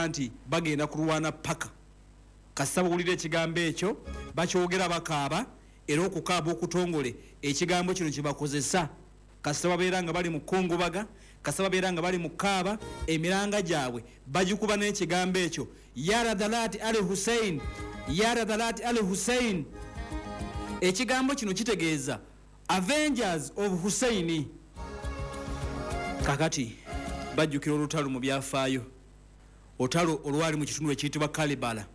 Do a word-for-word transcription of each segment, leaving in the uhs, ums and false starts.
okuba nti bagenda kulwana paka. Kasita bawulira ekigambo ekyo bakyogera bakaaba, era okukaaba okutongole ekigambo kino kyebakozesa kasita babeera nga bali mu kungubaga, kasita babeera nga bali mu kaaba, emiranga gyabwe bagikuba n'ekigambo ekyo ya Radhalati Ali Hussein, ya Radhalati Ali Hussein. Ekigambo kino kitegeeza Avengers of Hussein. Kakati bajjukira olutalo mu byafaayo, olutalo olwali mu kitundu ekiyitibwa Kalibala.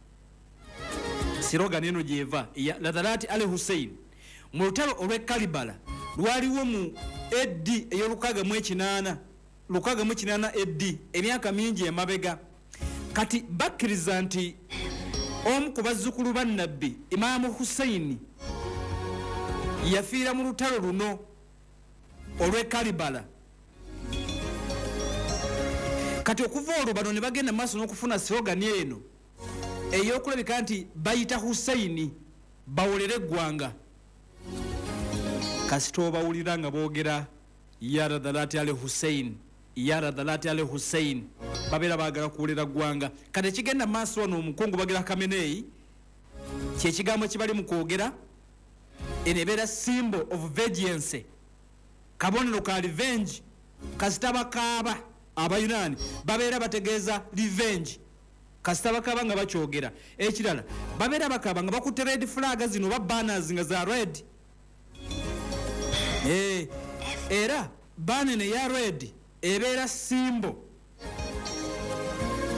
Slogan eno gyeva ya Radhalati Ali Hussein. Mu lutalo olw'e Kalibala lwaliwo mu A D ey'olukaaga mu ekinaana, lukaaga mu kinaana A D, emyaka mingi emabega. Kati bakkiriza nti omu ku bazzukulu ba Nabbi Imaamu Hussein yafiira mu lutalo luno olw'e Kalibala. Kati okuva olwo bano ne bagenda maaso n'okufuna slogan eno ey'okulabika nti bayita Hussein bawolere eggwanga. Kasita obawulira nga boogera ya Radhalati Ali Hussein, ya Radhalati Ali Hussein, babeera baagala kuwolera ggwanga. Kati ekigenda maaso wano omukungu bagira Khamenei kyekigambo kibali mu kwogera, eno ebeera symbol of vengeance, kabonero ka revenge. Kasita bakaaba Abayunani babeera bategeeza revenge, kasita bakaaba nga bakyogera. Ekirala babeera bakaaba nga bakutte red flag zino oba banners nga za red. Eh, era banner ya red ebeera symbol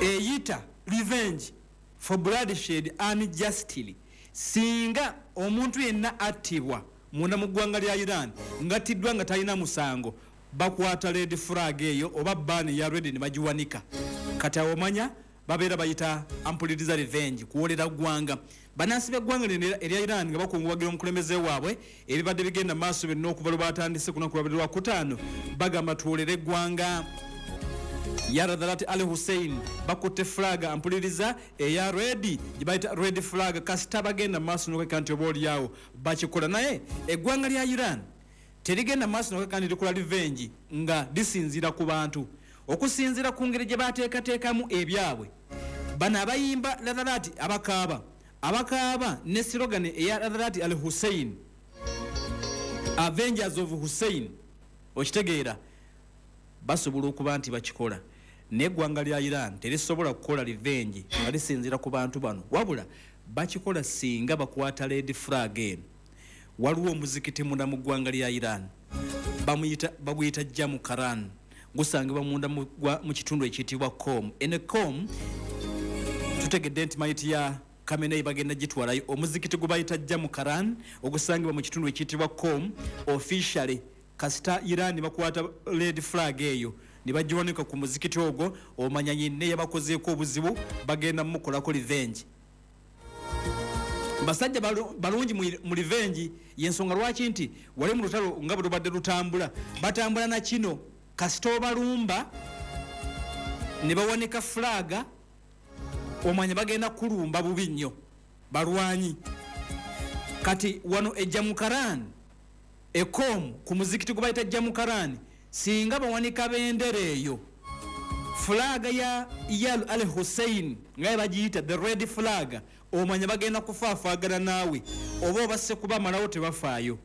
eyita revenge for bloodshed unjustly. Singa omuntu yenna attibwa munda mu ggwanga lya Iran ng'attiddwa nga talina musango, bakwata red flag eyo oba banner ya red ne bagiwanika. Kati awo omanya babeera bayita ampuliriza revenge, kuwolera ggwanga. Bannansi b'eggwanga lino erya Iran nga bakungubagira omukulembeze waabwe, ebibadde bigenda maaso byonna okuva lwe batandise ku lunaku lwabadde lwakutaano, bagamba tuwolere eggwanga. Ya Radhalati Ali Hussein bakutte flag ampuliriza eya red gye bayita red flag. Kasita bagenda maaso n'okweka nti oba oliawo bakikola. Naye eggwanga lya Iran terigenda maaso n'okweka nti likola revenge nga lisinziira ku bantu, okusinziira ku ngeri gye bateekateekamu ebyabwe. Bano abayimba Radhalati abakaaba, abakaaba ne slogan eya Radhalati Ali Hussein, Avengers of Hussein, okitegeera, basobola okuba nti bakikola. Naye eggwanga lya Iran terisobola kukola revenge nga lisinziira ku bantu bano, wabula bakikola singa bakwata red flag eno. Waliwo omuzikiti munda mu ggwanga lya Iran bamuyita, baguyita Jamkaran, gusangibwa munda mu kitundu ekiyitibwa Qom. Eno Qom tutegedde nti mayiti ya Khamenei bagenda gitwalayo. Omuzikiti gwe bayita Jamkaran ogusangibwa mu kitundu ekiyitibwa Qom, officially kasita Iran bakwata red flag eyo ne bagiwanika ku muzikiti ogwo, omanya nyinne yabakozeeko obuzibu, bagenda mumukolako revenge. Basajja balungi mu revenge, y'ensonga lwaki nti wali mu lutalo nga bwe lubadde lutambula, batambula na kino. Kasita obalumba ne bawanika flaga, omanya bagenda kulumba bubi nnyo, balwanyi. Kati wano e Jamkaran e Qom ku muzikiti gwe bayita Jamkaran, singa bawanika bendera eyo flaga ya Yal Al Hussein nga bagiyita the red flag, omanya bagenda kufaafaagana naawe oba obasse kubamalawo tebafaayo.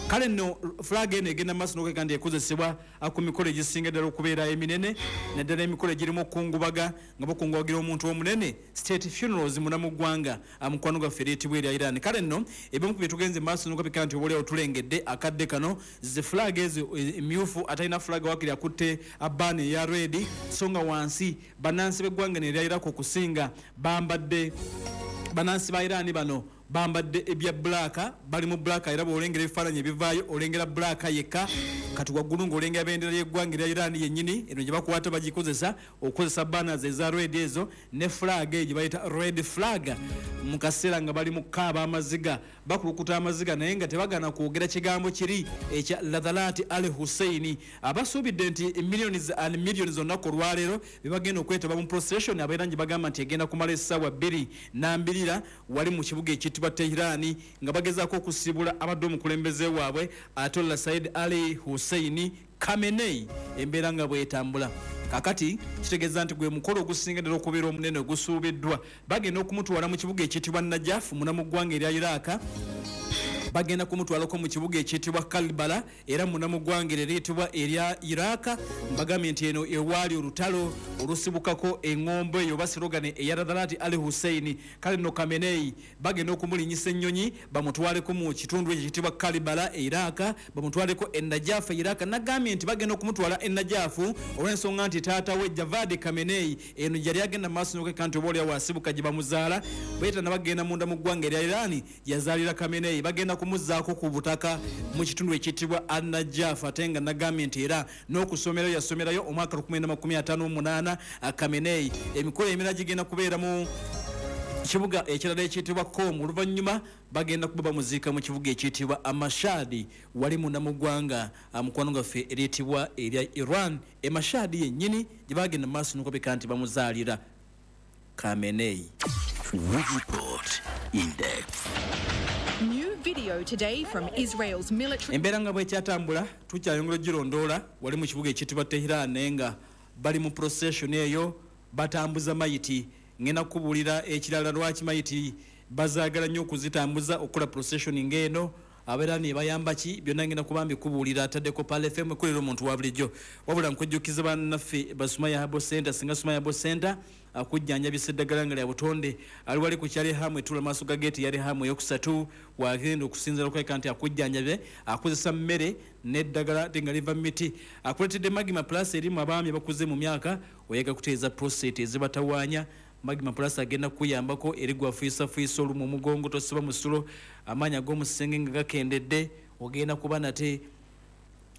Kale nno flag eno egenda maaso n'okweka nti ekozesebwa ku mikolo egisinga ddala okubeera eminene, naddala emikolo egirimu okukungubaga nga bakungubagira omuntu omunene, state funerals munda mu ggwanga, mukwano gwaffe eriyitibwa erya Iran. Kale nno ebimu ku bye tugenze maaso n'okweka nti oba oliawo tulengedde akadde kano ze flag ezo emyufu, atalina flag wakiri akutte banner eya red, so nga wansi bannansi b'eggwanga erya Iraq okusinga bambadde, bannansi ba Iran bano bambadde ebya black, bali mu black, era bw'olengera ebifaananyi ebivaayo olengera black yekka. Kati waggulu ng'olengera bendera y'eggwanga erya Iran yennyini eno gye bakwata bagikozesa okukozesa banners eza red ezo ne flag eyo gye bayita red flag. Mu kaseera nga bali mu kaaba amaziga, bakulukuta amaziga, naye nga tebagaana kwogera kigambo kiri ekya Radhalati Ali Hussein. Abasuubidde nti millions and millions olunaku olwaleero bebagenda okwetaba mu procession abaira gye bagamba nti egenda kumala essaawa bbiri nambirira wali mu kibuga ekiyitibwa ekiyitibwa Tehran nga bagezaako okusibula abadde omukulembeze waabwe Ayatollah Said Ali Hussein Khamenei. Embeera nga bwetambula kakati kitegeeza nti gwe mukolo ogusinga ddala okubeera omunene ogusuubiddwa. Bagenda okumutwala mu kibuga ekiyitibwa Najaf muna mu ggwanga erya Iraq, bagenda kumutwalako mu kibuga ekiyitibwa Karbala era muna mu ggwanga eriyitibwa erya Iraq. Mbagambye nti eno ewaali olutalo olusibukako eŋŋombo eyo oba slogan eya Radhalati Ali Hussein. Kale nno Khamenei bagenda okumulinyisa ennyonyi bamutwaleko mu kitundu ekyo ekiyitibwa Karbala e Iraq, bamutwaleko e Najaf e Iraq. Nagambye nti bagenda okumutwala e Najaf olw'ensonga nti taata we Javad Khamenei eno yali agenda mu maaso n'okweka nti oba oli awo asibuka gye bamuzaala, bweta nabagenda munda mu ggwanga erya Iran yazaalira Khamenei. Bagenda kumuzzaako ku butaka mu kitundu ekiyitibwa An-Najaf, ate nga nagambye nti era n'okusomerayo yasomerayo omwaka lukumi makumi ataano mu munaana Khamenei. Emikolo emirala gigenda kubeera mu kibuga ekirala ekiyitibwa Qom, oluvannyuma bagenda kuba bamuziika mu kibuga ekiyitibwa Amashadi wali munda mu ggwanga mukwano gwaffe eriyitibwa erya Iran. E Mashadi yennyini gye bagenda mu maaso n'okubika nti bamuzaalira Khamenei. Report in depth. New video today from Israel's military. Embeera nga bwekyatambula tukyayongera ogirondoola wali mu kibuga ekiyitibwa Tehran, naye nga bali mu procession eyo batambuza mayiti. Ngenda kukubuulira ekirala lwaki mayiti bazaagala nnyo okuzitambuza okukola procession ng'eno, abeera ne bayamba ki, byonna ngenda kuba mbikubuulira. Ataddeko Pearl F M ekolera omuntu wa bulijjo. Wabula nkujjukiza bannaffe ba Sumaya Herbal Center, singa Sumaya Herbal Center akujjanjabisa eddagala nga lya butonde, ali wali ku kyali hamu etula maaso ga geeti yali hamu eyokusatu, wagenda okusinziira okweka nti akujjanjabe akozesa mmere n'eddagala ate nga liva mu miti. Akuleetedde Magma Plus erimu abaami abakuze mu myaka, oyaga kutereeza prostate ezibatawaanya. Magma Plus agenda kukuyambako eri gwafuyisafuyiisa olumu omugongo, tosiba musulo, amaanyi ag'omusenge nga gakendedde, ogenda kuba nate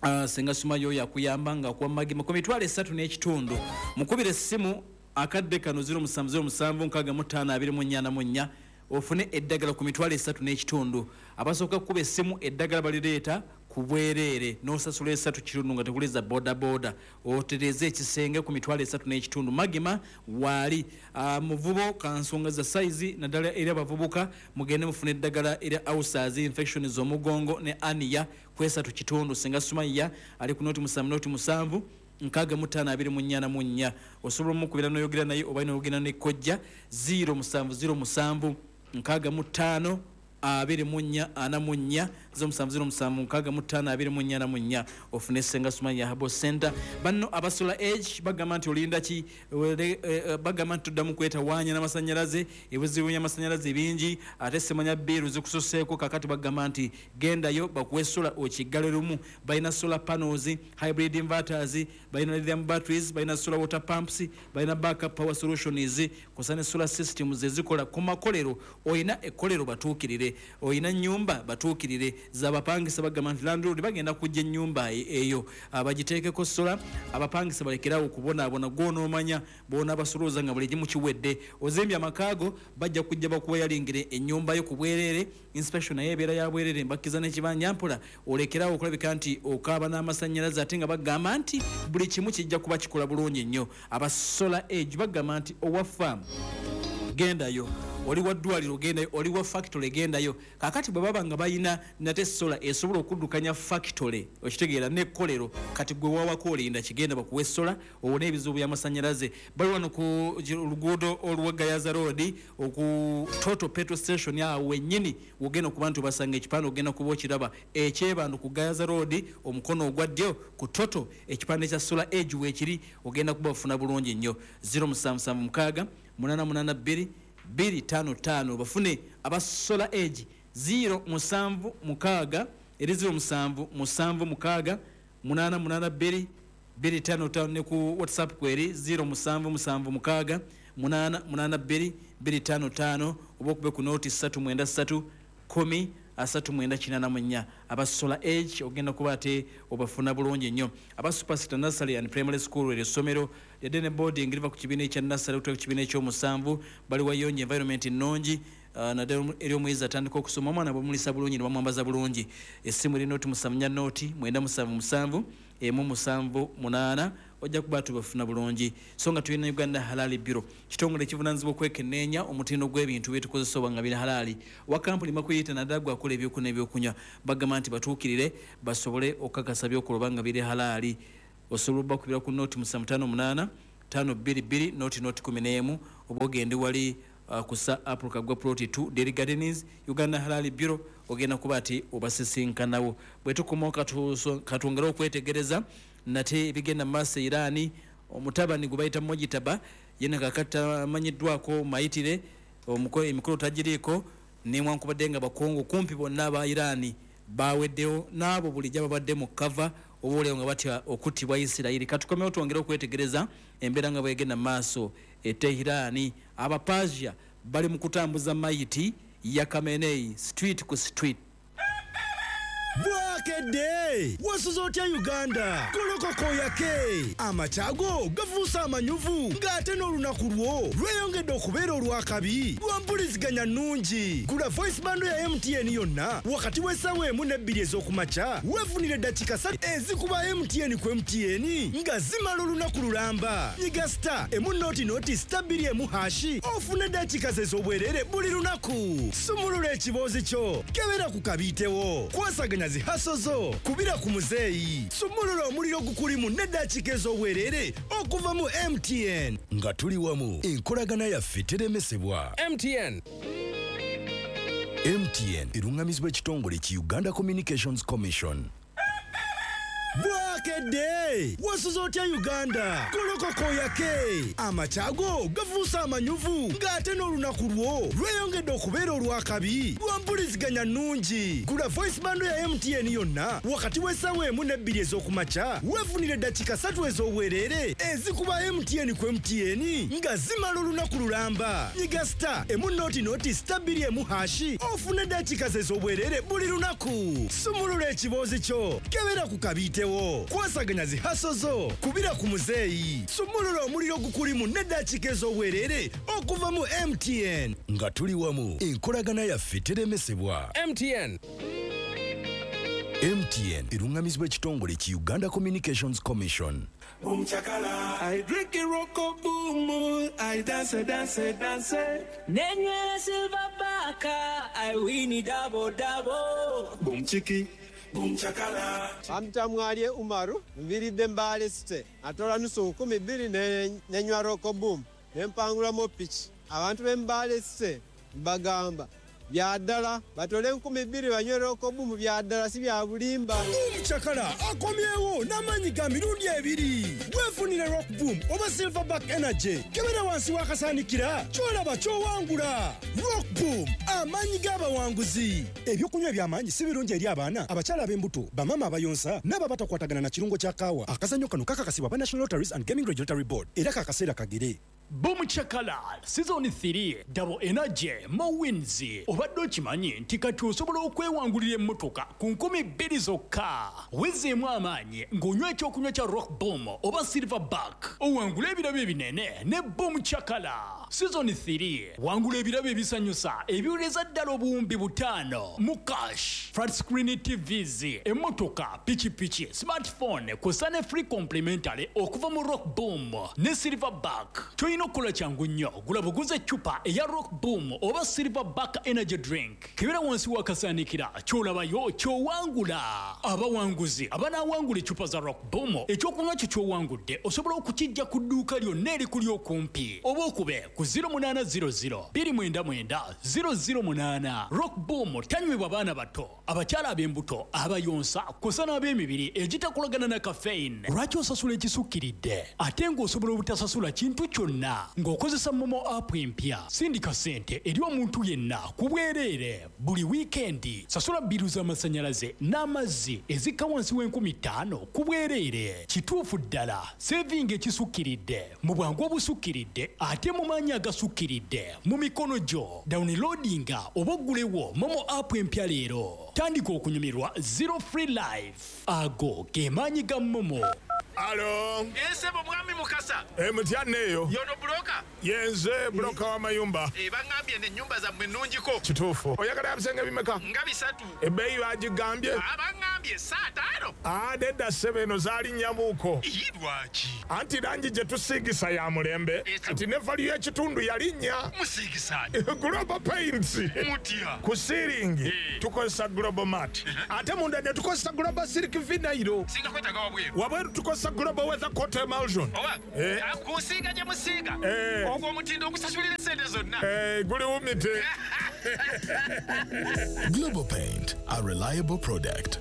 uh, senga Sumaya oyo akuyamba nga akuwa Magma ku mitwalo esatu n'ekitundu. Mukubire essimu akadde kano ziro musanvu ziro musanvu nkaaga mu ttaano abiri mu nnya na mu nnya ofune eddagala ku mitwalo esatu n'ekitundu. Abasooka kukuba essimu eddagala balireeta ku bwereere n'osasula esatu kitundu nga tekuliza bodaboda, otereeze ekisenge ku mitwalo esatu n'ekitundu. Magma waali uh, muvubo kansonga za sayizi naddala eri abavubuka, mugende mufune eddagala erya ulcers, infection z'omugongo ne aniya ku esatu kitundu. Senga Sumaya ali ku noti musanvu noti musanvu nkaaga mu ttaano abiri mu nnya na mu nnya. Osobola omukubira n'oyogera naye oba n'oyogera ne kojja ziro musanvu ziro musanvu nkaaga mu ttaano abiri mu nnya ana mu nnya ziro musanvu ziro musanvu nkaaga mu ttaano abiri mu nnya na mu nnya ofune Senga Sumaya Herbal Center. Banno aba Solar Age bagamba nti olinda ki, bagamba nti tuddamu kwetawaanya n'amasannyalaze, ebizibu by'amasannyalaze bingi ate semanya bbiiru zikusoseeko. Kakati bagamba nti gendayo bakuwe solar okiggale lumu. Balina solar panels, hybrid inverters, balina lithium batteries, balina solar water pumps, balina backup power solutions, kw'ossa ne solar systems ezikola ku makolero. Oyina ekkolero batuukirire, oyina nnyumba batuukirire, z'abapangisa bagamba nti landlord bagenda kujja ennyumba eyo bagiteekeko sola, abapangisa balekerawo okubonaabona. Gw'onoomanya bw'onaabasuuza nga buli kimu kiwedde. Ozimbye amakaago bajja kujja bakuwayalingire ennyumba yo ku bwereere, inspection naye ebeera ya bwereere, mbakkiza n'ekibanja mpola olekerawo okulabika nti okaaba n'amasannyalaze, ate nga bagamba nti buli kimu kijja kuba kikola bulungi nnyo. Aba Solar Age bagamba nti owa farm gendayo, oli wa ddwaliro gendayo, oli wa factory gendayo. Kakati bwe baba nga balina nate solar esobola okuddukanya factory, okitegeera n'ekkolero, kati gwe wawako olinda kigenda bakuwe solar owone ebizibu by'amasannyalaze. Bali wano ku luguudo olwa Gayaza Road oku Total Petrol Station awo wennyini wogenda okuba nti obasanga ekipande ogenda kuba okiraba ekyebando ku Gayaza Road omukono ogwa ddyo ku Total, ekipande kya Solar Age weekiri, ogenda kuba ofuna bulungi nnyo. ziro musanvu musanvu mukaaga munaana munaana bbiri bbiri ttaano ttaano bafune aba Solar Age ziro musanvu mukaaga eri ziro musanvu musanvu mukaaga munaana munaana bbiri bbiri ttaano ttaano ne ku WhatsApp kweri ziro musanvu musanvu mukaaga munaana munaana bbiri bbiri ttaano ttaano oba okube ku nooti ssatu mwenda ssatu kkumi asatu mwenda kinaana mu nnya. Aba Solar Age ogenda kuba ate obafuna bulungi nnyo. Aba Superstar Nursery and Primary School, eryo essomero lyadde ne boarding liva ku kibiina ekya nursery okutuuka ku kibiina ekyomusanvu, bali wayonjo, environment nnungi, uh, naddala eri omuyizi atandika okusoma, omwana bwemulisa bulungi ne bamwambaza bulungi. Essimu eri noti musanvu nnya noti mwenda musanvu musanvu emu musanvu munaana, ojja kuba tubafuna bulungi. So nga tulina Uganda Halali Bureau, kitongole ekivunaanyizibwa okwekenneenya omutindo gw'ebintu byetukozesa oba nga biri halaali. Wa kampuni bakuyita naddala gwe akola ebyokulya n'ebyokunywa, bagamba nti batuukirire basobole okukakasa byokola oba nga biri halaali. Osobola obbakubira ku noti musanvu ttaano munaana ttaano bbiri bbiri noti noti kumi n'emu, oba ogende wali uh, ku Sir Apollo Kaggwa Plot two Dairy Gardens, Uganda Halali Bureau, ogenda kuba ati obasisinkanawo. Bwe tukomawo katwongere okwetegereza nate ebigenda mu maaso e Iran. Omutabani gwe bayita Mojitaba yena kakati amanyiddwako mayitire, emikolo tagiriiko, newankubadde nga bakungu kumpi bonna aba Iran baweddewo, n'abo bulijjo babadde mu kava oba oliawo nga batya okuttibwa Isirayiri. Katukomewo twongere okwetegereza embeera nga bwegenda mu maaso e Tehran. Abapasia bali mu kutambuza mayiti ya Khamenei street ku street. Bwakedde wasuze otya Uganda? Golokoko yake amakyago gafuuse amanyuvu, ng'ate n'olunaku lwo lweyongedde okubeera olw'akabi lwa mpuliziganya nnungi. Gula voice bando ya M T N yonna wakati w'essaawa emu n'ebbiri ez'okumakya, weefunire eddakiika ssatu ezikuba M T N ku M T N nga zimala olunaku lulamba. Nyiga star emu noti noti star bbiri emu hashi ofune eddakiika ze ez'obwerere buli lunaku. Sumulula ekiboozi kyo, kebera ku kabiitewo, kwasaganya zi haso zo, kubira ku muzeeyi, sumulula omuliro gukulimu n'eddakiika ez'obwerere okuva mu M T N. Nga tuli wamu, enkolagana yaffe teremesebwa. M T N. M T N erungamizibwa ekitongole ki Uganda Communications Commission. Bwakedde wasuze otya Uganda? Golokoko yake amakyago gafuuse amanyuvu, ng'ate n'olunaku lwo lweyongedde okubeera olw'akabi lwa mpuliziganya nnungi. Gula voice bando ya M T N yonna wakati w'essaawa emu n'ebbiri ez'okumakya, weefunire eddakiika ssatu ez'obwerere ezikuba M T N ku M T N nga zimala olunaku lulamba. Nyiga star emu noti noti star bbiri emu hashi ofune eddakiika ze ez'obwerere buli lunaku. Sumulula ekiboozi kyo, kebera ku kabiitewo, kwasaganya zi haso zo, kubira ku muzeeyi, sumulula omuliro gukulimu n'eddakiika ez'obwerere okuva mu M T N. Nga tuli wamu, enkolagana yaffe teremesebwa. M T N. M T N erungamizibwa ekitongole ki Uganda Communications Commission. Boom chakala, I drink it roko boom, I dance dance dance. Nenywera silver baka, I win it double double. Boom chiki, boom chakala. Bamtamwalye Umaru, nviridde Mbale City, atola nusu nkumi bbiri nenywa roko boom, nempangulamu piki. Abantu b'e Mbale City mbagamba bya ddala batole nkumi bbiri banywe roko boom, bya ddala si bya bulimba. Boom chakala akomyewo n'amaanyi ga mirundi ebiri. Weefunire Rock Boom oba Silverback Energy, kebera wansi w'akasaanikira ky'olaba ky'owangula. Rock Boom, amaanyi g'abawanguzi. Ebyokunywa eby'amaanyi si birungi eri abaana, abakyala ab'embuto, bamaama abayonsa n'abo abatakwatagana na kirungo kya kaawa. Akazannyo kano kakakasibwa aba National Lotteries and Gaming Regulatory Board era kakaseera kagere. Boom Chakala Season three Double Energy Mo Wins. Obadde okimanyi nti kati osobola okwewangulira emmotoka ku nkumi bbiri zokka. Wezeemu amaanyi ng'onywa ekyokunywa kya Rock Boom oba Silverback, owangula ebirabo ebinene ne Boom Chakala Season three. Wangula ebirabo ebisanyusa ebiwereza ddala obuwumbi butaano mu cash, flat screen T Vs, emmotoka, pikipiki, smartphone kw'ossa ne free complimentary okuva mu Rock Boom ne Silverback. Toyina okukola kyangu nnyo, gula buguze eccupa eya Rock Boom oba Silverback Energy Drink, kebera wansi w'akasaanikira ky'olabayo ky'owangula. Abawanguzi abanaawangula eccupa za Rock Boom, ekyokunywa kyo ky'owangudde osobola okukijja ku dduuka lyonna erikuli okumpi oba okube ku zero munaana zero zero bbiri mwenda mwenda zero zero munaana. Rock Boom tanywebwa baana bato, abakyala ab'embuto, abayonsa kw'ossa n'ab'emibiri egitakolagana na caffeine. Lwaki osasula ekisukkiridde ate ng'osobola obutasasula kintu kyonna ng'okozesa MoMo app empya? Sindika ssente eri omuntu yenna ku bwereere buli wiikendi. Sasula bbiru z'amasannyalaze n'amazzi ezikka wansi w'enkumi ttaano ku bwereere. Kituufu ddala, sevinga ekisukkiridde mu bwangu obusukkiridde ate mu maanyi agasukkiridde mu mikono gyo. Downloadinga oba oggulewo MoMo app empya leero. Tandika okunyumirwa Zero Free Life. Ago ge maanyi ga MoMo. Alo. Ensebo mwami Mukasa. Eh, mutya neyo. Yono broker. Yenze broker wa mayumba. Eh, bangambye n'ennyumba zammwe nnungiko. Kituufu. Oyagala ebisenge bimeka? Nga bisatu. Ebbeeyi bagigambye? Abangambye saa ttaano. Ah, nedda ssebo eno zaalinnya-muko. Ii, lwaki? Anti langi gye tusiigisa ya mulembe. Kati ne value y'ekitundu yalinnya. Musiigisa. Global Paints. Mutya. Ku ceiling tukozesa Global Mat. Ate munda ne tukozesa Global Silk Vinyl. Singa kwetaaga wabweru. Wabweru tukozesa Global Weather Coat Emulsion. Oba? Eh. Kusiiga gye musiiga. Eh. Ogwo omutindo ogusasulira essente zonna. Eh, guli wumite. Global Paint, a reliable product.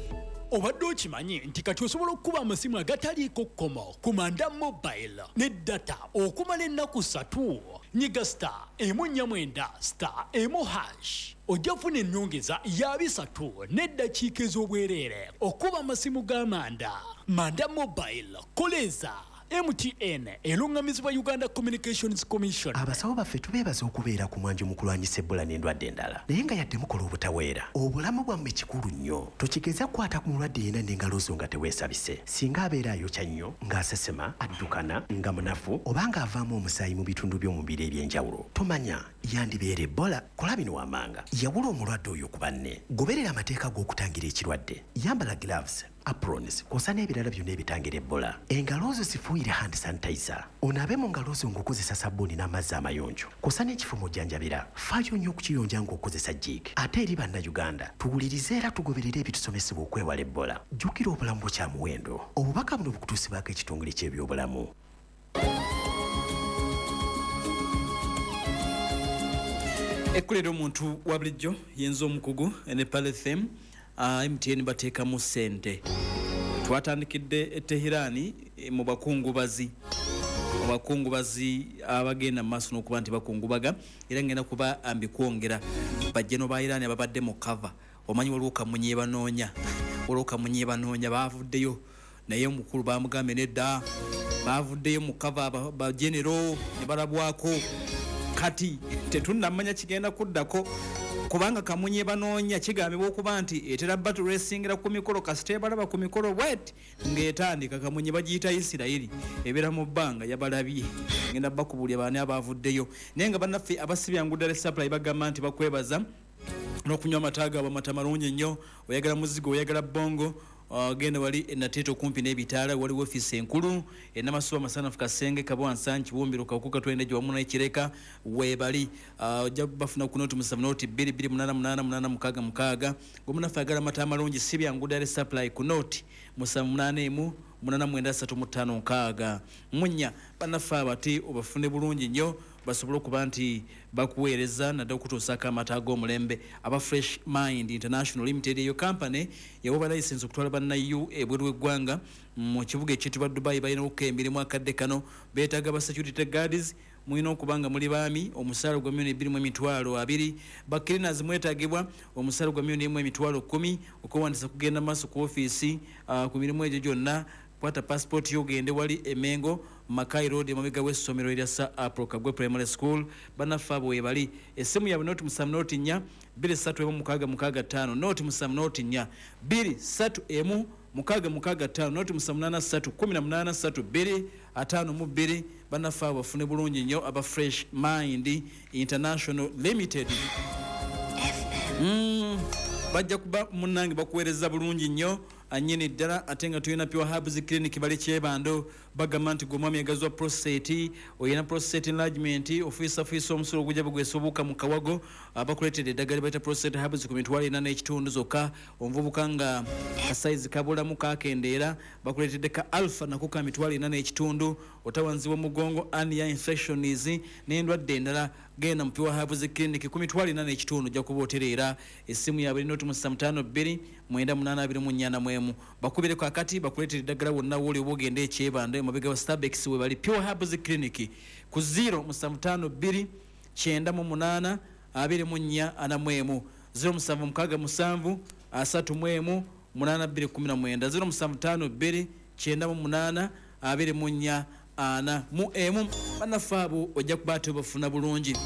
Obadde okimanyi nti kati osobola okukuba amasimu agataliiko kkomo ku Manda Mobile ne data okumala ennaku ssatu. Nyiga star emu nnya mwenda star emu hash ojja kufuna ennyongeza ya bisatu n'eddakiika ez'obwereere okuba amasimu ga Manda. Manda Mobile, koleza. M T N erungamizibwa Uganda Communications Commission. Abasawo baffe tubeebaza okubeera ku mwanjo mu kulwanyisa Ebola n'endwadde endala. Naye nga yadde mukola obutaweera, obulamu bwammwe kikulu nnyo. Tokigeza kukwata ku mulwadde yenna n'engalo zo nga teweesabise. Singa abeera ayokya nnyo, ng'asesema, addukana, nga munafu, oba ng'avaamu omusaayi mu bitundu by'omubiri eby'enjawulo. Tomanya yandibeera Ebola. Kola bino wammanga. Yawula omulwadde oyo ku banne. Goberera amateeka g'okutangira ekirwadde. Yambala gloves, aprons, kw'ossa n'ebirala byonna ebitangira Ebola. Engalo zo zifuuyire hand sanitizer. Onaabe mu ngalo zo ng'okozesa sabbuuni n'amazzi amayonjo. Kw'ossa n'ekifo mw'ojjanjabira. Faayo nnyo okukiyonja ng'okozesa jig. Ate eri Bannayuganda, tuwulirize era tugoberere ebitusomesebwa okwewala Ebola. Jjukira obulamu bwo kya muwendo. Obubaka buno bukutuusibwako ekitongole ky'ebyobulamu. Ekkulira omuntu wa bulijjo yenza omukugu ne Palethem. Uh, M T N bateekamu ssente. Twatandikidde e Tehirani mu bakungubazi, mu bakungubazi abagenda mu maaso n'okuba nti bakungubaga, era ngenda kuba ambikwongera bajjeno ba Iran ababadde mu cover. Omanyi waliwo kamunye banoonya, waliwo kamunye banoonya baavuddeyo, naye omukulu bamugambye nedda, baavuddeyo mu cover ba general ne balabwako. Kati tetunnamanya kigenda kuddako, kubanga kamunye banoonya kigambibwa okuba nti etera battle racingira ku mikolo, kasita ebalaba ku mikolo bweti ng'etandika. Kamunye bagiyita Isirayiri, ebeera mu bbanga yabalabye. Ngenda bakubuulira baani abaavuddeyo. Naye nga bannaffe abasibyangu ddala supply bagamba nti bakwebaza n'okunywa amata gaabwe, amata malungi nnyo. Oyagala muzigo, oyagala bongo, genda wali enateeta okumpi n'ebitaala, waliwo ofiisi enkulu enamasuba masanafu Kasenge Kabwa Nsangi Kibumbiro Kawukuka Twendejo wamu n'Ekireka weebali. Ojja bafuna ku noti musanvu noti bbiri bbiri munaana munaana munaana mukaaga mukaaga. Gwe ayagala amata amalungi si byangu ddala supply ku noti musanvu munaana emu munaana mwenda ssatu mu ttaano nkaaga munya. Bannaffe abati obafune bulungi nnyo basobole okuba nti bakuweereza naddala okutuusaako amata ag'omulembe. Aba Fresh Mind International Limited, eyo company yawa license okutwala bannayu ebweru w'eggwanga mu kibuga ekiyitibwa Dubai. Balina okukola emirimu akadde kano, beetaaga ba security guards, mulina okuba nga muli baami, omusaala gwa milioni bbiri mu emitwalo abiri. Ba cleaners mwetaagibwa, omusaala gwa milioni emu emitwalo kkumi. Okwewandiisa kugenda maaso ku ofiisi uh, ku mirimu egyo gyonna. Kwata passport yo ogende wali Emengo Makai Road emabega w'essomero erya Sir Apollo Kagwe Primary School. Bannaffe abo we bali. Essimu yaabwe noti musanvu noti nnya bbiri ssatu emu mukaaga mukaaga ttaano, noti musanvu noti nnya bbiri ssatu emu mukaaga mukaaga ttaano, noti musanvu munaana ssatu kkumi na munaana ssatu bbiri ataano mu bbiri. Bannaffe abo bafune bulungi nnyo aba Fresh Mind International Limited. Mm, bajja kuba munnange bakuweereza bulungi nnyo annyini ddala. Ate nga tulina Pure Herbs Clinic bali Kyebando, bagamba nti gwe omwami agazwa prostate, oyina prostate enlargement, ofiisafiisa omusulo ogujja bugwesa obuwuka mu kawago, abakuleetedde eddagala lye bayita prostate herbs ku mitwalo ena n'ekitundu zokka. Omuvubuka nga kasayizi kabulamu kakendeera, bakuleetedde ka alpha nako ka mitwalo ena n'ekitundu. Otawanzibwa mugongo, hernia, infections n'endwadde endala, genda mu Pure Herbs Clinic ku mitwalo ena n'ekitundu ojja kuba otereera. Essimu yaabwe eri noti musanvu ttaano bbiri mwenda munaana abiri mu nnya na mu emu. Bakubireko akati bakuleetera eddagala wonna wooli oba ogende Ekyebando emabega wa Starbucks we bali. Pure Herbs Clinic ku zero musanvu ttaano bbiri kyenda mu munaana abiri mu nnya ana mu emu, zero musanvu mukaaga musanvu asatu mu emu munaana bbiri kkumi na mwenda, zero musanvu ttaano bbiri kyenda mu munaana abiri mu nnya ana mu emu. Bannaffe abo ojja kuba ate obafuna bulungi.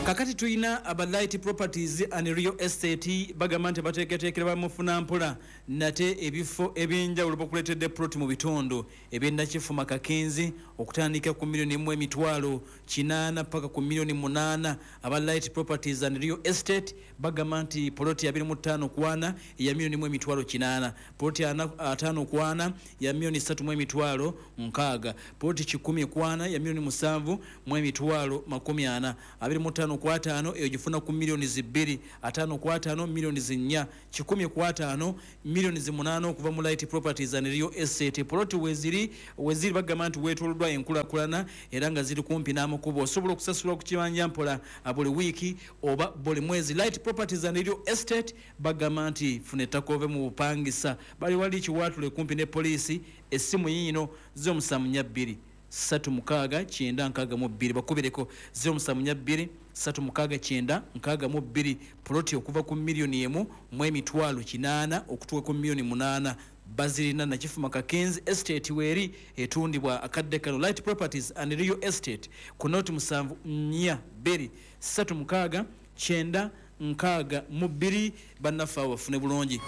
Kakati tulina aba Light Properties and Real Estate bagamba nti bateeketeekera bamufuna mpola nate ebifo ebyenjawulo bakuleetedde plot mu bitundu eby'e Kakenzi okutandika ku miliyoni emu emitwalo kinaana paka ku miliyoni munaana. Aba Light Properties and Real Estate bagamba nti poloti abiri mu ttaano ku ana ya miliyoni emu emitwalo kinaana, poloti ataano ku ana ya miliyoni ssatu mu emitwalo nkaaga, poloti kikumi ku ana ya miliyoni musanvu mu emitwalo makumi ana, abiri mu ttaano ku ataano eyo gifuna ku miliyoni zibbiri, ataano ku ataano miliyoni zinnya, kikumi ku ataano miliyoni zimunaana okuva mu Light Properties and Real Estate. Poloti weziri weziri bagamba nti weetooloddwa enkulaakulana era nga ziri kumpi n'amakubo, osobola okusasula ku kibanja mpola buli wiiki oba buli mwezi. Light Properties and Real Estate bagamba nti funa ettaka ove mu bupangisa, bali wali Kiwaatule kumpi ne poliisi. Essimu yiino ziro musanvu nnya bbiri ssatu mukaaga kyenda nkaaga mu bbiri, bakubireko ziro musanvu nnya bbiri ssatu mukaaga kyenda nkaaga mu bbiri. Poloti okuva ku miliyoni emu mu emitwalo kinaana okutuuka ku miliyoni munaana bazirina. Nakifuma Kakenzi Estate weeri etundibwa akadde kano. Light Properties and Real Estate ku noti musanvu nnya bbiri ssatu mukaaga kyenda nkaaga mu bbiri. Bannaffe abo bafune bulungi.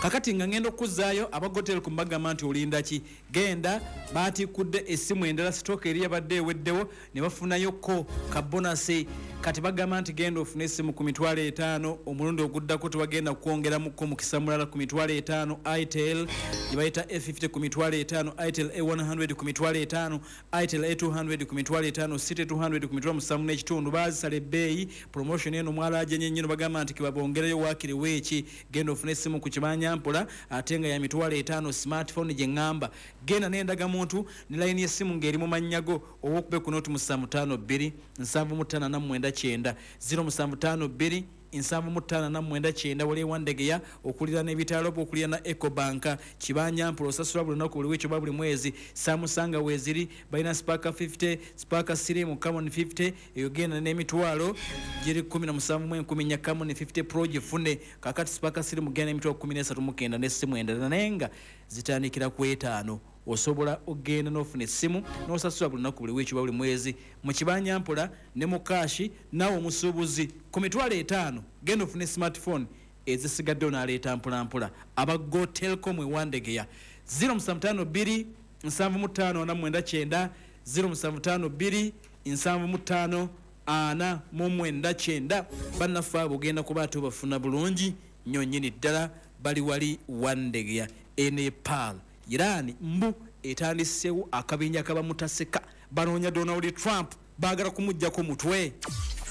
Kakati nga ngenda okuzzaayo abagotel ku mbagamba nti olinda ki, genda baatikkudde essimu endala, sitooka eri yabadde eweddewo ne bafunayoko ka bonasi. Kati bagamba nti genda ofune essimu ku mitwalo etaano, omulundi oguddako tebagenda kwongeramuko mukisa mulala ku mitwalo etaano. Itel gye bayita A fifty ku mitwalo etaano, Itel A one hundred ku mitwalo etaano, Itel A two hundred ku mitwalo etaano, City two hundred ku mitwalo musanvu n'ekitundu. Baazisala ebbeeyi promotion eno mwalaje nnyo, bagamba nti kebabongereyo waakiri weeki. Genda ofune essimu ku kibanja mpola ate nga ya mitwalo etaano, smartphone gye ŋŋamba. Genda n'endagamuntu ne layini y'essimu ng'eri mu mannya go, owokube ku noti musanvu ttaano bbiri nsanvu mu ttaano ana mu mwenda kyenda, ziro musanvu ttaano bbiri nsanvu mu ttaano ana mu mwenda kyenda. Wali Wandegeya okuliraana ebitaalo okuliraana Ecobank. Kibanja mpola osasula buli lunaku, buli wiiki oba buli mwezi. Samusanga weeziri balina Spark fifty, Spark Slim, Camon fifty eyo genda n'emitwalo giri kkumi na musanvu mu enkumi nnya. Camon fifty Pro gifune. Kakati Spark Slim genda n'emitwalo kkumi n'esatu mu kenda n'essimu endala naye nga zitandikira ku etaano. Osobola ogenda n'ofuna essimu n'osasula buli lunaku, buli wiiki oba buli mwezi mu kibanja mpola ne mu kaashi. Naawe omusuubuzi ku mitwalo etaano genda ofune smartphone, ezisigaddewo n'aleeta mpolampola. Aba Go Telcom e Wandegeya ziro musanvu ttaano bbiri nsanvu mu ttaano ana mu mwenda kyenda, ziro musanvu ttaano bbiri nsanvu mu ttaano ana mu mwenda kyenda. Bannaffe abo ogenda kuba ate obafuna bulungi nnyo nnyini ddala, bali wali Wandegeya. Enepal Iran mbu etandiseewo akabinja kabamutaseka, banoonya Donald Trump, baagala kumuggyako mutwe.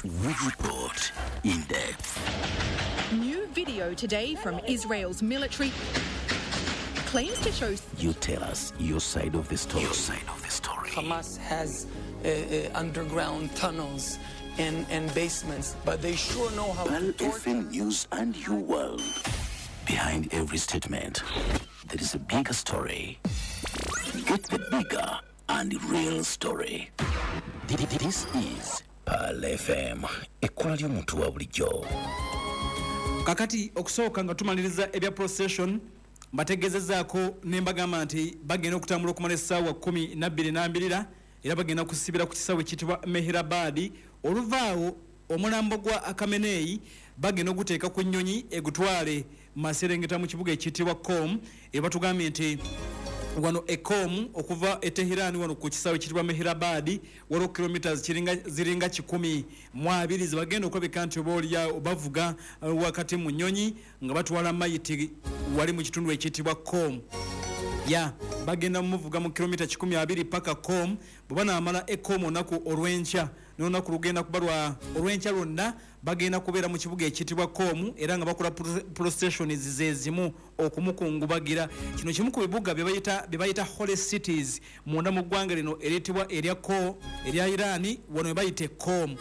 We report in depth. New video today from Israel's military claims to show. You tell us your side of the story. Your side of the story. Hamas has uh, uh, underground tunnels and, and basements, but they sure know how Pearl to torture. F M News and your world. Behind every statement, there is a bigger story. Get the bigger and real story. This is Pearl F M. Ekkola ly'omuntu wa bulijjo. Kakati okusooka nga tumaliriza ebya procession, mbategeezezaako ne mbagamba nti bagenda okutambula okumala essaawa kkumi na bbiri n'ambirira, era bagenda kusibira ku kisaawe ekiyitibwa Mehrabad. Oluvaawo omulambo gwa Khamenei bagenda oguteeka ku nnyonyi egutwale maserengeta mu kibuga ekiyitibwa Qom. Era batugambye nti wano e Qom okuva e Tehran wano ku kisaawe ekiyitibwa Mehrabad waliwo kilometers kiringa ziringa kikumi mu abiri zebagenda okulabika nti oba oliawo bavuga wakati mu nnyonyi nga batwala mayiti wali mu kitundu ekiyitibwa Qom. Ya bagenda muvuga mu kilomita kikumi abiri paka Qom. Bwe banaamala e Qom olunaku olw'enkya n'olunaku lugenda kuba lwa olw'enkya lwonna bagenda kubeera mu kibuga ekiyitibwa Qom, era nga bakola processions ze zimu okumukungubagira. Kino kimu ku bibuga bye bayita bye bayita holy cities munda mu ggwanga lino eriyitibwa erya Qom erya Iran, wano bayita Qom.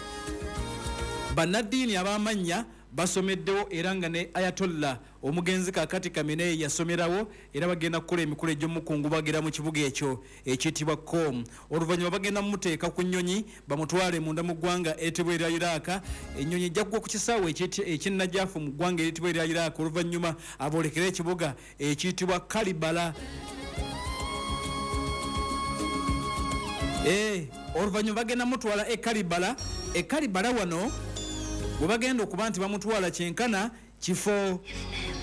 Bannaddiini ab'amannya basomeddewo era nga ne Ayatollah omugenzi kaakati Khamenei yasomerawo, era bagenda kukola emikolo egy'omukungubagira mu kibuga ekyo ekiyitibwa Qom. Oluvannyuma bagenda mumuteeka ku nnyonyi bamutwale munda mu ggwanga eriyitibwa erya Iraq. Ennyonyi ejja kugwa ku kisaawe eky'e mu ggwanga eriyitibwa erya Iraq, oluvannyuma aboolekere ekibuga ekiyitibwa Karbala. Eh, oluvannyuma bagenda mutwala e Karbala E Karibala wano we bagenda okuba nti bamutwala kyenkana kifo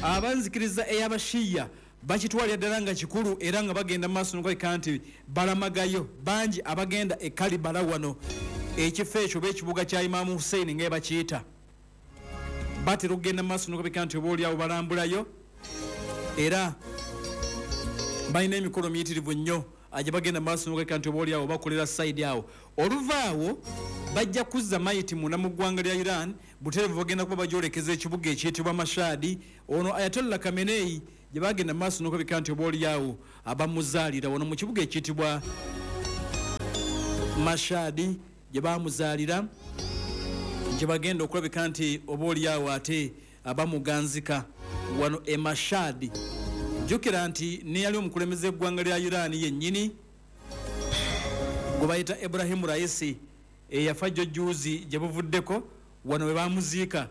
abanzikiriza ey'abashiya bakitwalira ddala nga kikulu, era nga bagenda mu maaso n'okulabika nti balamagayo bangi abagenda e Karibala wano. Ekifo ekyo oba ekibuga kya Imaamu Hussein nga bakiyita, batera okugenda mu maaso n'okulabika nti oba oliawo balambulayo, era balina emikolo miyitirivu nnyo gye bagenda mu maaso n'okulabika nti oba oliawo bakolera sayidi awo. Oluvaawo bajja kuzza mayiti munda mu ggwanga lya Iran, butereevu bagenda kuba bagyolekeza ekibuga ekiyitibwa Mashhad. Ono Ayatollah Khamenei gye bagenda mu maaso n'okulabika nti oba oliawo abamuzaalira wano mu kibuga ekiyitibwa Mashhad gye bamuzaalira, gye bagenda okulabika nti oba oliawo ate abamuganzika wano e Mashhad. Jjukira nti neyali omukulembeze w'eggwanga lya Iran yennyini gwe bayita Ibrahim Raisi eyafa jjo juzi gye buvuddeko, wano we bamuziika.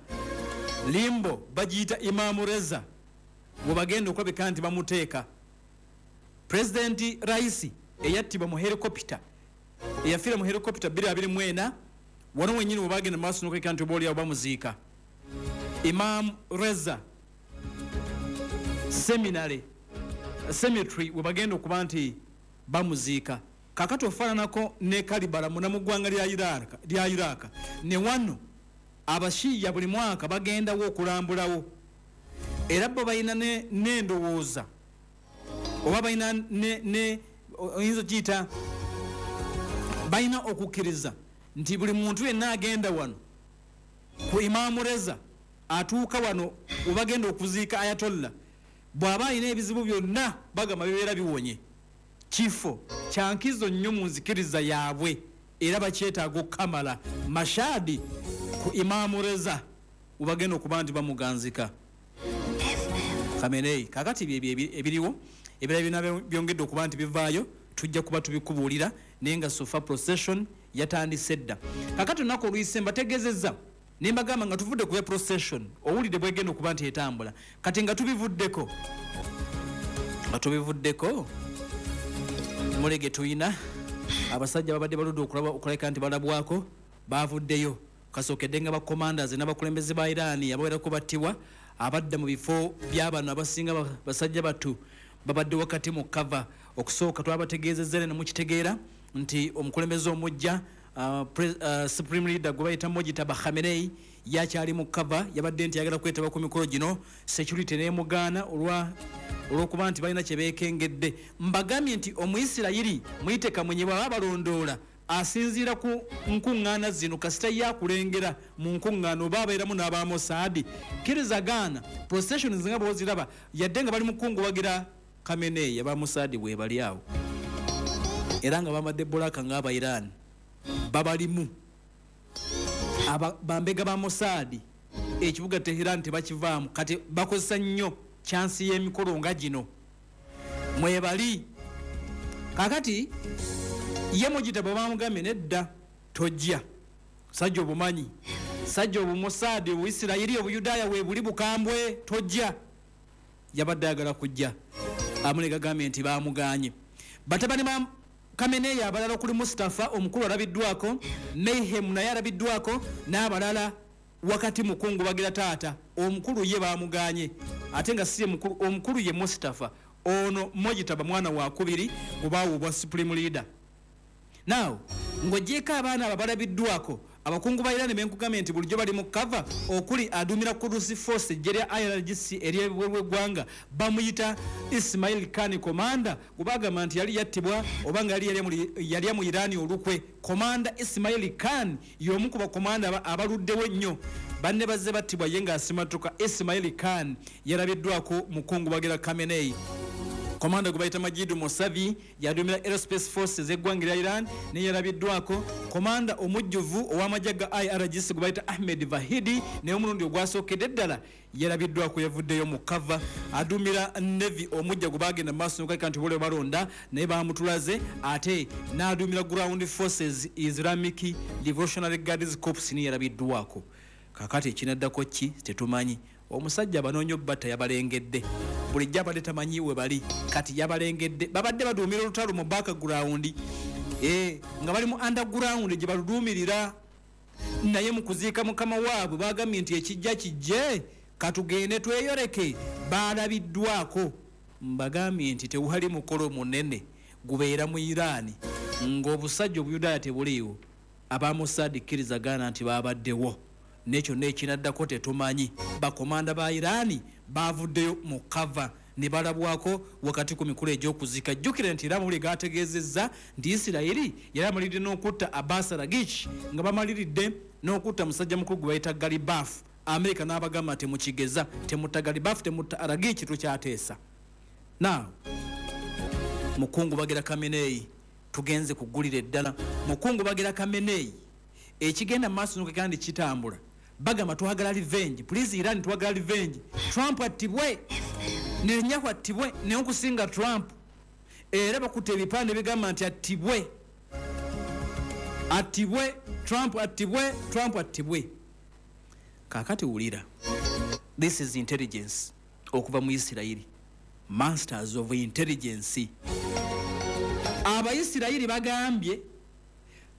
Limbo bagiyita Imaamu Reza we bagenda okulabika nti bamuteeka. Pulezidenti Raisi eyattibwa mu helikopita, eyafiira mu helikopita bbiri abiri mu ena, wano wennyini we bagenda mu maaso n'okulabika nti oba oliawo bamuziika. Imam Reza Seminary Cemetery we bagenda okuba nti bamuziika. Kakati ofaananako ne Karibala muna mu ggwanga lya Iraq, lya Iraq ne wano abashiya buli mwaka bagendawo okulambulawo, era bo balina n'endowooza oba balina ne oyinza okiyita balina okukkiriza nti buli muntu yenna agenda wano ku Imaamu Reza atuuka wano we bagenda okuziika Ayatollah, bw'aba alina ebizibu byonna bagamba bibeera biwonye. Kifo kya nkizo nnyo mu nzikiriza yaabwe, era bakyetaaga okukamala. Mashhad ku Imaamu Reza we bagenda okuba nti bamuganzika Khamenei. Kakati byebyo ebiriwo, ebirala byonna byongedde okuba nti bivaayo tujja kuba tubikubuulira, naye nga sofa procession yatandise dda. Kakati olunaku oluyise mbategeezezza ne mbagamba nga tuvudde ku ya procession, owulidde bwegenda okuba nti etambula. Kati nga tubivuddeko nga tubivuddeko mulege tuyina abasajja babadde baludde okulaba okulabika nti balabwako bavuddeyo. Kasookedde nga bacommanders n'abakulembeze ba Iran abawerako battibwa, abadda mu bifo by'abano abasinga basajja batu babadde wakati mu kava. Okusooka twabategeezezza ne mukitegeera nti omukulembeze omujja uh, uh, Supreme Leader gwe bayita Mojtaba Khamenei yakyali mu kava, yabadde nti ayagala kwetaba ku mikolo gino, security n'emugaana olwa olw'okuba nti balina kye beekengedde. Mbagambye nti Omuyisirayiri muyite Kamunye bw'aba balondoola asinziira ku nkuŋŋaana zino, kasita yakulengera mu nkuŋŋaana oba abeeramu n'aba Mossad. Kkiriza gaana processions nga bw'oziraba, yadde nga bali mu kukungubagira Khamenei, aba Mossad bwe bali awo, era nga bambadde bulaka ng'aba Iran babalimu. Aba bambega ba Mossad ekibuga Tehran tebakivaamu, kati bakozesa nnyo chansi y'emikolo nga gino mwebali. Kakati ye Mujitaba bamugambye nedda tojja, sajja obumanyi, sajja obumossad, obuisirayiri, obuyudaaya weebuli bukambwe, tojja. Yabadde ayagala kujja, amulega gambye nti bamuganye. Batabani ba Khamenei abalala okuli Mustafa omukulu alabiddwako, Mayhem naye alabiddwako n'abalala wakati mukungu bagira taata omukulu ye bamuganye, ate nga si mukulu, omukulu ye Mustafa. Ono Mojtaba mwana wa kubiri obaawo obwa Supreme Leader. Now ng'ogyeko abaana abo balabiddwako, abakungu ba Iran benkugambye nti bulijjo bali mu kava, okuli aduumira Quds Force eggye lya I R G C ery'ebweru w'eggwanga bamuyita Ismail Khan Commander, gwe bagamba nti yali yattibwa oba nga yali yalya mu Iran olukwe. Commander Ismail Khan y'omu ku bakomanda abaluddewo ennyo, banne bazze battibwa ye ng'asimatuka. Ismail Khan yalabiddwako mukungu bagira Khamenei. Komanda gwe bayita Majid Mousavi yaduumira Aerospace Forces eggwanga lya Iran naye yalabiddwako. Komanda omujjuvu ow'amagye ga I R G C gwe bayita Ahmed Vahidi naye omulundi ogwasookedde ddala yalabiddwako, yavuddeyo mu kava. Aduumira Navy omujja gwe bagenda mu maaso n'okulabika nti bole balonda naye bamutulaze, ate n'aduumira Ground Forces Islamic Revolutionary Guards Corps naye yalabiddwako. Kakati ekinaddako ki tetumanyi. Omusajja abanoonya obbatta yabalengedde, bulijjo abadde tamanyi we bali, kati yabalengedde. Babadde baduumira olutalo mu background, eh, nga bali mu underground gye baluduumirira. Naye mu kuziika mukama waabwe bagambye nti ekijja kijje, katugende tweyoleke. Balabiddwako. Mbagambye nti tewali mukolo munene gubeera mu Iran ng'obusajja obuyudaaya tebuliiwo. Aba Mossad kkirizagana nti babaddewo, n'ekyo n'ekinaddako tetumanyi. Bakomanda ba Iran bavuddeyo mu kava ne balabwako wakati ku mikolo egy'okuziika. Jjukira nti era amawulire gategeezezza nti Isirayiri yali amaliridde n'okutta Abbas Araghchi, nga bamaliridde n'okutta musajja mukulu gwe bayita Galibaf. Amerika n'abagamba temukigeza, temutta Galibaf, temutta Araghchi, tukyateesa. Now mukungu bagira Khamenei, tugenze kugulira eddala. Mukungu bagira Khamenei, ekigenda mu maaso kandi kitambula. Bagamba twagala revenge, please Iran, twagala revenge. Trump attibwe, Netanyahu attibwe, naye okusinga Trump. Era bakutte ebipande bigamba nti attibwe, attibwe Trump, attibwe Trump, attibwe. Kaakati wulira, this is intelligence okuva mu Isirayiri, masters of intelligence. Abayisirayiri bagambye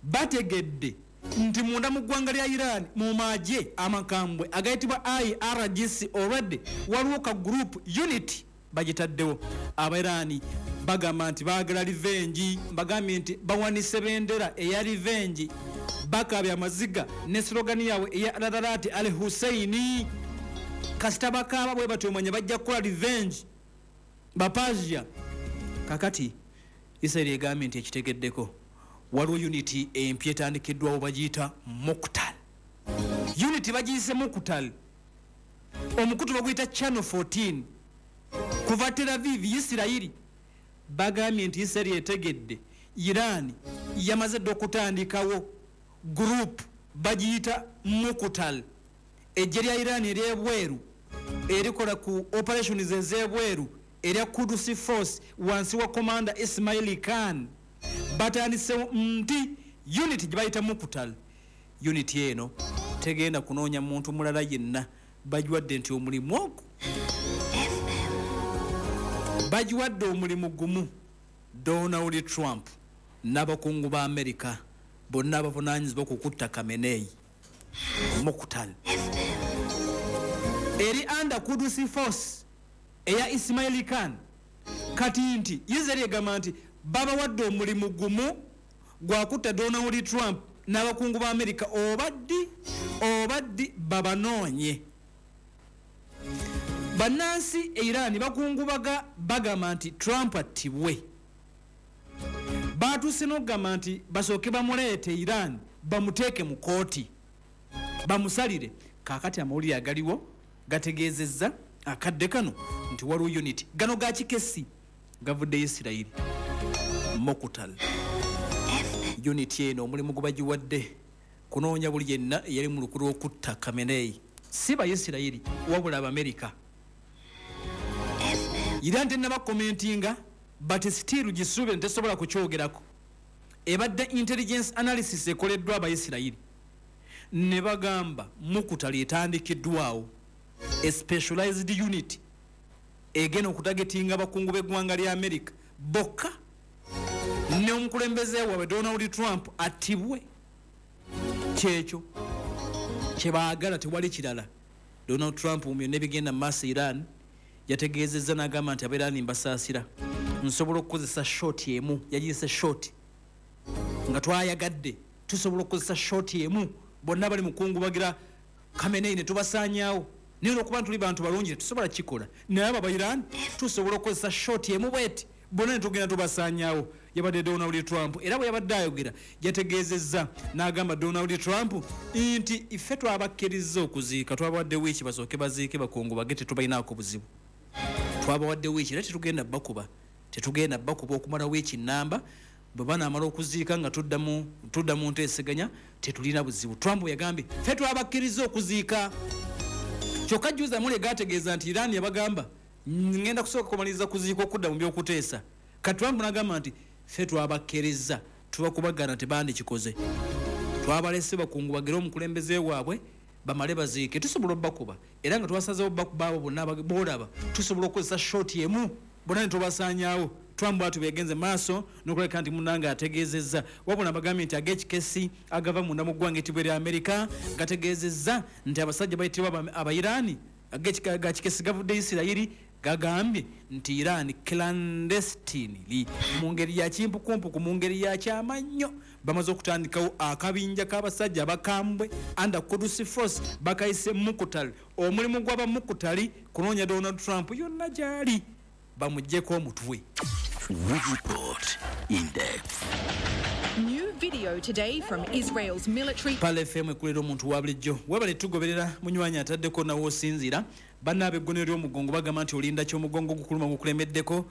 bategedde nti munda mu ggwanga lya Iran mu magye amakambwe agayitibwa I R G C already waliwo ka group unit bagitaddewo. Abairani bagamba nti baagala revenge. Bagambye nti bawanise bendera eya revenge, bakaabya amaziga ne slogan yaabwe eya Radarat al Husseini. Kasita bakaaba bwe batyo omanya bajja kukola revenge Bapasia. Kakati Israeli egambye nti ekitegeddeko waliwo unity empya etandikiddwawo bagiyita Muqtal. Unity bagiyise Muqtal, omukutu baguyita Channel fourteen kuva Tel Aviv Isirayiri. Bagambye nti Isirayiri etegedde Iran yamaze dda okutandikawo group bagiyita Muqtal. Eggye lya Iran ery'ebweru erikola ku operations ez'ebweru erya Quds Force wansi wa Commander Ismail Khan batandisewo nti unit gye bayita Muqtal. Unit eno tegenda kunoonya muntu mulala yenna, bagiwadde nti omulimu ogwo bagiwadde omulimu gumu, Donald Trump n'abakungu ba Amerika bonna abavunaanyizibwa ku kutta Khamenei. Muqtal eri under Quds Force eya Ismail Khan. Kati nti Israeli egamba nti babawadde omulimu gumu gwakutta Donald Trump n'abakungu ba Amerika, obaddi obaddi babanoonye. Bannansi e Iran bakungubaga bagamba nti Trump attibwe. Batuuse n'okugamba nti basooke bamuleete Iran bamuteeke mu kooti bamusalire. Kaakati amawulire agaliwo gategeezezza akadde kano nti waliwo unit gano ga kikesi gavudde Isirayiri. Muqtal unit eno omulimu gubagiwadde kunoonya buli yenna eyali mu lukulu okutta Khamenei, si Bayisirayiri wabula Abamerika. Iran tennaba commentinga, but still gisuubire ntesobola kukyogerako. Ebadde intelligence analysis ekoleddwa Abayisirayiri ne bagamba Muqtal etandikiddwawo a specialized unit egenda okutagetinga abakungu b'eggwanga lya Amerika bokka ne omukulembeze waabwe Donald Trump attibwe. Kyekyo kyebaagala, tewali kirala. Donald Trump mu byonna ebigenda mu maaso Iran yategeezezza n'agamba nti Abairani mbasaasira, nsobola okukozesa shot emu. Yagiyise shot nga twayagadde, tusobola okukozesa shot emu bonna bali mukungubagira Khamenei ne tubasaanyaawo. Naye olwokuba tuli bantu balungi tetusobola kukikola, naye abo Abairani tusobola okukozesa shot emu bweti bonna ne tugenda tubasaanyaawo. Yabadde Donald Trump era bwe yabadde ayogera yategeezezza n'agamba Donald Trump nti ife twabakkiriza okuziika, twabawadde wiiki basooke baziike bakungubage, tetubalinaako buzibu. Twabawadde wiiki era tetugenda bakuba, tetugenda bakuba okumala wiiki nnamba. Bwe banaamala okuziika nga tudda mu tudda mu nteeseganya tetulina buzibu. Trump yagambye ffe twabakkiriza okuziika. Kyokka jjuza mule gategeeza nti Iran yabagamba ngenda kusooka kumaliriza kuziika okudda mu by'okuteesa. Kati Trump n'agamba nti ffe twabakkiriza, tubakubagana tebandikikoze, twabalese bakungubagire omukulembeze waabwe bamale baziike, tusobola obbakuba era nga twasazeewo bakuba abo bonna boolaba, tusobola okukozesa shot emu bonna ne tubasaanyaawo. Trump bw'atyo bwe maaso n'okulabika nti munnange ategeezezza. Wabula bagambye nti ag'ekikesi agava munda mu ggwanga etibwe lya Amerika gategeezezza nti abasajja bayitibwa Abairani ag'ekikesi gavudde Isirayiri gagambye nti Iran clandestinely mu ngeri ya kimpukumpuku, mu ngeri ya kyama nnyo bamaze okutandikawo akabinja k'abasajja abakambwe under Quds Force bakayise Mukutali. Omulimu gw'abamukutali kunoonya Donald Trump yonna gy'ali bamuggyeko omutwe. We report in depth. New video today from Israel's military. Pale F M ekulera omuntu wa bulijjo. Webale tugoberera munywanyi ataddeko nawo osinziira. Banna ab'eggonero ly'omugongo bagamba nti olinda ky'omugongo gukuluma gukulemeddeko,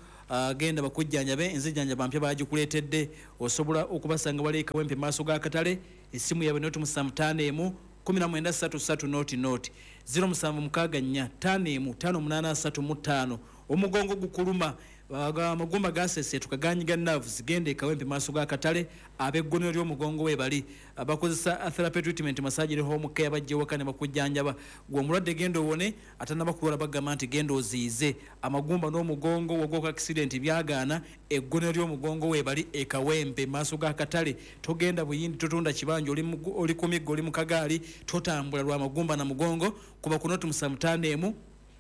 genda bakujjanjabe, enzijjanjaba mpya baagikuleetedde. Osobola okubasanga wali e Kawempe maaso g'akatale. Essimu yaabwe noti musanvu ttaano emu kumi na mwenda ssatu ssatu noti noti ziro musanvu mukaaga nnya ttaano emu ttaano munaana ssatu mu ttaano. Omugongo gukuluma, amagumba gasesetuka ganyiga nerves, genda e Kawempe maaso g'akatale. Ab'eggonero ly'omugongo we bali bakozesa therapy treatment, massage ne home care, bajja waka ne bakujjanjaba. Gwe omulwadde genda owone, atannaba kulwala bagamba nti genda oziize. Amagumba n'omugongo wagwoka accident byagaana, eggonero ly'omugongo we bali e Kawempe maaso g'akatale. Togenda Buyindi, totunda kibanja, oli ku miggo, oli mu kagaali, totambula lwa magumba na mugongo. Kuba ku noti musanvu ttaano emu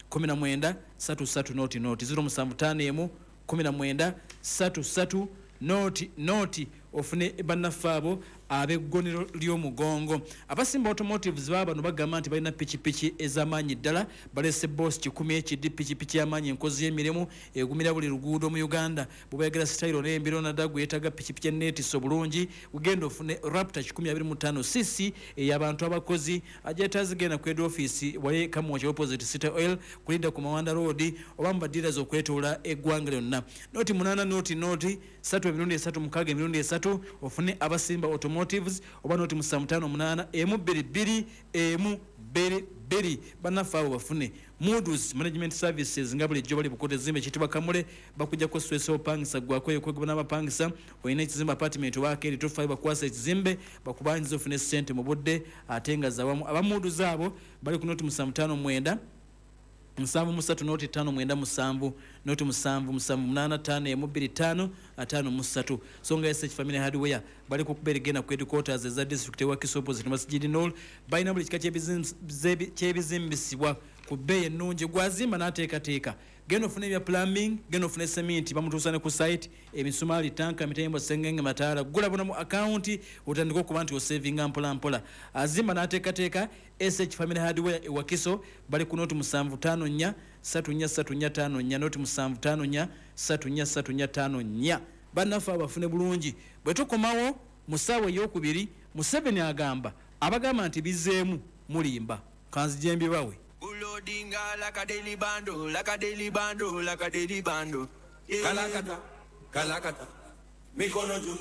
kumi na mwenda ssatu ssatu noti noti ziro musanvu ttaano emu kumi na mwenda ssatu ssatu noti noti ofune bannaffe abo ab'eggonero ly'omugongo. Abasimba Automotives baba bano bagamba nti balina pikipiki ez'amaanyi ddala. Balese Boss kikumi ekidi, pikipiki y'amaanyi enkozi y'emirimu egumira buli luguudo mu Uganda. Bw'oyagala sitayiro n'embiro nadda gwe yeetaaga pikipiki enneetiso bulungi, ugenda ofune Raptor kikumi abiri mu ttaano C C ey'abantu abakozi. Agyetaazi genda ku head office wali Kamwokya opposite City Oil kulinda ku Mawanda Road oba mu badealers okwetoola eggwanga lyonna. Noti munaana noti noti ssatu emirundi esatu mukaaga emirundi esatu ofune Abasimba Automotives oba noti musanvu ttaano munaana emu bbiri bbiri emu bbiri bbiri. Bannaffe abo bafune. Moods Management Services nga bulijjo bali Bukoto ezimbe ekiyitibwa Kamule, bakujjako stress opangisa gwako ekwegaba n'abapangisa. Olina ekizimbe apartment oba akeeri tofaayo, bakwasa ekizimbe bakubanyiza ofune ssente mu budde ate nga zawamu. Aba Moods abo bali ku noti musanvu ttaano mwenda nsanvu mu ssatu noti ttaano mwenda musanvu noti musanvu musanvu munaana ttaano emu bbiri ttaano ataano mu ssatu. So nga S H Family Hardware bali ku kubeera genda ku headquarters eza district ewa Wakiso opposite Masjid Nur. Balina buli kika ky'ebizimbisibwa ku bbeeyi ennungi. Gwazimba n'ateekateeka, genda ofune ebya plumbing, genda ofune cement bamutuusa ne ku site, emisumaali, tanka, mitembo, sengenge, mataala. Gula bona mu account otandike okuba nti osavinga mpola mpola. Azimba n'ateekateeka S H Family Hardware e Wakiso bali ku noti musanvu ttaano nnya ssatu nnya ssatu nnya ttaano nnya noti musanvu ttaano nnya ssatu nnya ssatu nnya ttaano nnya. Bannaffe abafune bulungi. Bwe tukomawo mu ssaawa ey'okubiri, Museveni agamba abagamba nti bizeemu mulimba. Kanzije mbibawe. Ulodinga like a daily bando, like a daily bando, like a daily bando. Kalakata, kalakata, mikono juu.